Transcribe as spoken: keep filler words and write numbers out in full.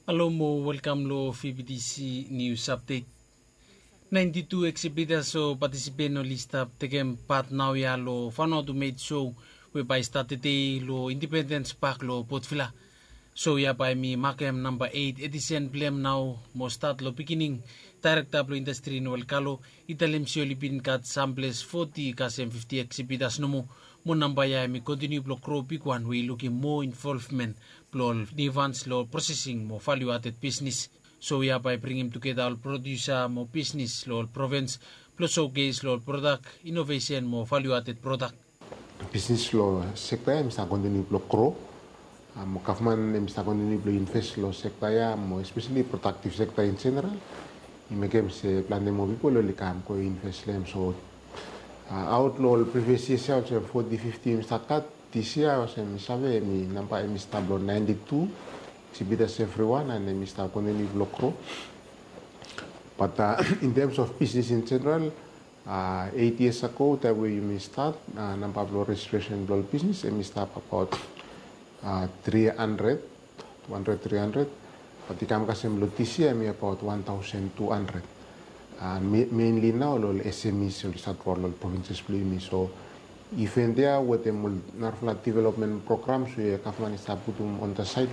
Halo mo welkam lo V B T C News Update. Ninety-two exhibitors o participant oli stap tekem pat naoia lo Vanuatu Made Show we bae i stat tede lo Independence Park lo Port Vila. Show ia bae hemi makem namba eight edition blong hem nao mo stat lo beginning. Director blo industry Noel Kalo i talem se oli bin gat samples forty kasem fifty exhibitors nomo, mo namba ia hemi kontiniu blo gro bigwan we i lukim moa involvement blo ol new ones lo processing mo value added business. Show ia bae i bringim tugeta ol producer mo business lo ol province blo showcase lo ol product, innovation mo value added product. Bisnis lo sekta ia hemi stap kontiniu blo gro. Mo gavman hemi stap kontiniu blo invest lo sekta ia mo especially productive sector in general. I mekem se plante moa pipol oli kam go invest lo hem. So aot lo ol previous years ia olsem forty, fifty hemi stap gat, this year olsem mi save hemi namba hemi stap lo ninety-two. Exhibitors everyone and hemi stap kontiniu blo gro. But in terms of business in general, eight years ago taem we yumi stat, namba blo registration blo ol bisnis hemi stap abaot three hundred, two hundred, three hundred. Bat i kam kasem lo this year hemi abaot one thousand two hundred. Mainly nao lo ol S M Es oli stat fo ol provinces blo yumi. So event ia wetem ol narafala development programs we gavman i stap putum on the side